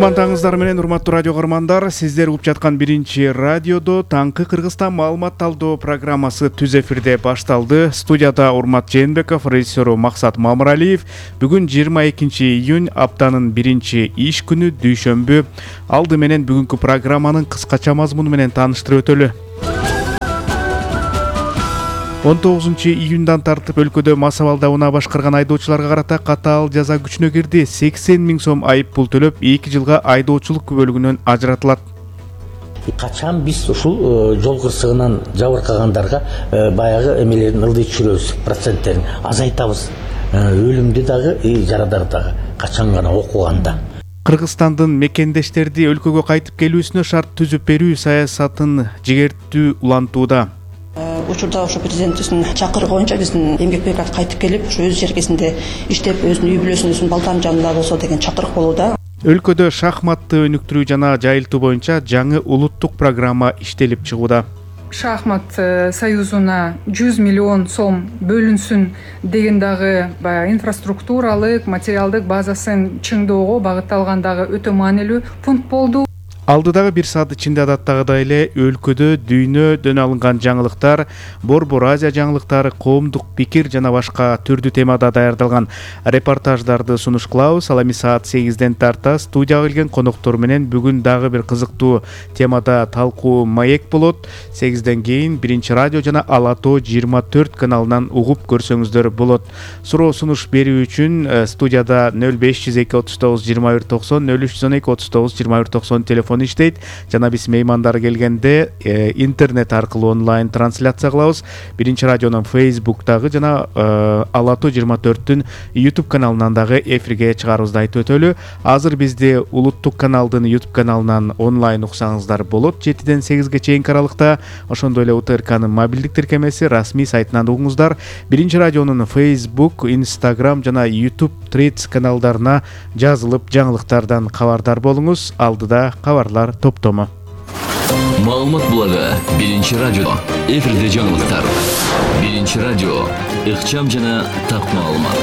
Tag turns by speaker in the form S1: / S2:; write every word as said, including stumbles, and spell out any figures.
S1: Кутмандаңыздар менен урматтуу радио көрөрмандар, сиздер угуп жаткан биринчи радиодо таңкы Кыргызстан маалымат талдоо программасы түз эфирде башталды. Студияда Урмат Жээнбеков, режиссеру Максат Мамыралиев. Бүгүн жыйырма экинчи июнь, аптанын биринчи иш күнү, дүйшөмбү. Алды менен бүгүнкү программанын кыскача мазмуну менен тааныштырып өтөлү. он тогузунчу июндан тартып өлкөдө мас абалда унаа башкарган айдоочуларга карата катаал жаза күчүнө кирди. сексен миң сом айып пул төлөп, эки жылга айдоочулук күбөлүгүнөн ажыратылат.
S2: Качан биз ушул жол кырсыгынан жабыркагандарга баягы эмелерин ылдый түшүрөбүз, проценттерин азайтабыз. Өлүмдү дагы, жарадарды дагы качан гана окуганда.
S1: Кыргызстандын мекендештерди өлкөгө кайтып келүүсүнө шарт түзүп берүү саясатын жигертүү улантууда.
S3: Учурда ошо президентибиздин чакырыгы боюнча биздин эмгек бригада кайтып келип, ошо өз жергесинде иштеп, өзүнүн үй бүлөсүнүн балдарынын жанында болсо деген чакырык болууда.
S1: Өлкөдө шахматты өнүктүрүү жана жайылтуу боюнча жаңы улуттук программа иштелип чыгууда.
S4: Шахмат союзуна жүз миллион сом бөлүнсүн деген дагы баягы инфраструктуралык, материалдык базасын чыңдоого багытталган дагы өтө маанилүү пункт болду.
S1: Алдыдагы бир саат ичинде адаттагыдай эле өлкөдө дүйнөдөн алынган жаңылыктар, Борбор Азия жаңылыктары, коомдук пикир жана башка түрдүү темада даярдалган репортаждарды сунуш кылабыз. Ал эми саат сегизден тарта студияга келген коноктор менен бүгүн дагы бир кызыктуу темада талкуу маек болот. сегизден кийин биринчи радио жана Ала Тоо жыйырма төрт каналынан угуп көрсөңүздөр болот. Суроо сунуш берүү үчүн студияда нөл беш жүз эки отуз тогуз жыйырма бир токсон, нөл үч жүз он эки отуз тогуз жыйырма бир токсон телефон иштейт. Жана биз меймандар келгенде э, интернет аркылуу онлайн трансляция кылабыз. Биринчи радионун Facebook'тагы жана э, Ала Тоо жыйырма төрттүн YouTube каналынан дагы эфирге чыгарыбызды айтып өтөлү. Азыр бизди улуттук каналдын YouTube каналынан онлайн уксаңыздар болот. жетиден сегизге чейинки аралыкта, ошондой эле УТРКнын мобилдик тиркемеси, расмий сайтынан угуңуздар. Биринчи радионун Facebook, Instagram жана YouTube Threads каналдарына жазылып, жаңылыктардан кабардар болуңуз. Алдыда кабарлар топтому.
S5: Маалымат блогу биринчи радио. Эфирде жаңылыктар. Биринчи радио. Ыкчам жана так маалымат.